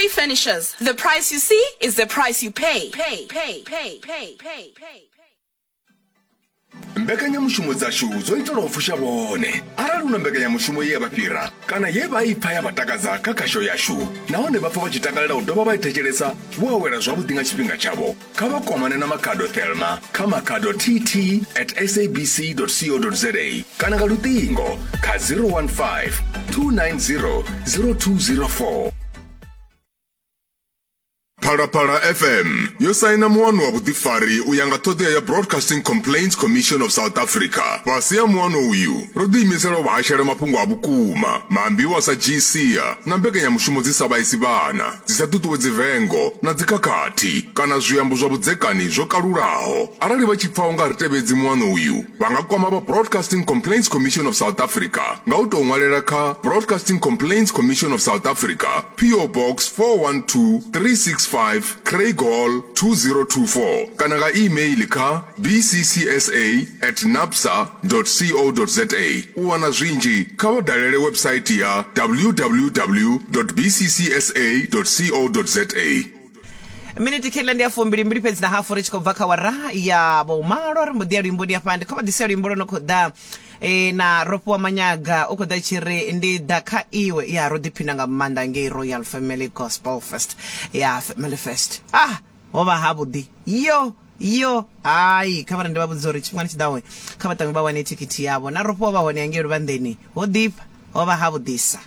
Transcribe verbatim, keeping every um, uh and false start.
Luxury Furnishers. The price you see is the price you pay. Pay, pay, pay, pay, pay, pay. Mbekanyamushumo dzashu dzo itelwa u fusha vhone. Arali hu na mbekanyamushumo ye ya vha fhira kana ye vha i pfa ya vha takadza kha khasho yashu, nahone vha pfa vha tshi takalela u dovha vha i thetshelesa vho awela zwavhuḓi nga tshifhinga tshavho, kha vha kwamane na Makhado Thelma kha makhado tt at sabc co za kana nga luṱingo kha zero one five two nine zero zero two zero four. Phalaphala F M yo saina muano wa vhuḓifari u ya nga ṱhoḓea ya Broadcasting Complaints Commission of South Africa. Fhasi ha muano uyu, ro ḓiimisela u vha hashela mafhungo a vhukuma, maambiwa a sa dzhii sia na mbekanyamushumo dzi sa vhaisi vhana, dzi sa ṱuṱuwedzi vengo na dzikhakhathi kana zwiambo zwa vhudzekani zwo kalulaho. Arali vha tshi pfa u nga ri tevhedzi muano uyu, vha nga kwama vha Broadcasting Complaints Commission of South Africa nga u tou ṅwalela kha Broadcasting Complaints Commission of South Africa, P O Box four one two three six five, Craighall two zero two four kana nga email kha b c c s a at napsa dot co dot za. U wana zwinzhi kha vha dalele website ya w w w dot b c c s a dot co dot za. Miniti khela ndi ya fumbili mbili fhedzi na hafu ri tshi khou bva kha wara ya vhumalo. Ri mbo ḓi ya luimbo ndi hafha ndi kho vha ḓisela luimbo lwo no khou ḓa e, na Rofhiwa Manyaga u khou ḓa tshi ri ndi ḓa kha iwe. Ya ro ḓiphina nga maanḓa ngei Royal Family Gospel Fest ya Family Fest. Ah, ho vha havhuḓi yo yo hai kha vha ndi vha vhudza uri tshifhingani tshi ḓaho kha vha ṱange vha wane thikhithi yavho. Na Rofhiwa vha hone ngei luvhanḓeni ho ḓifha, ho vha havhuḓisa.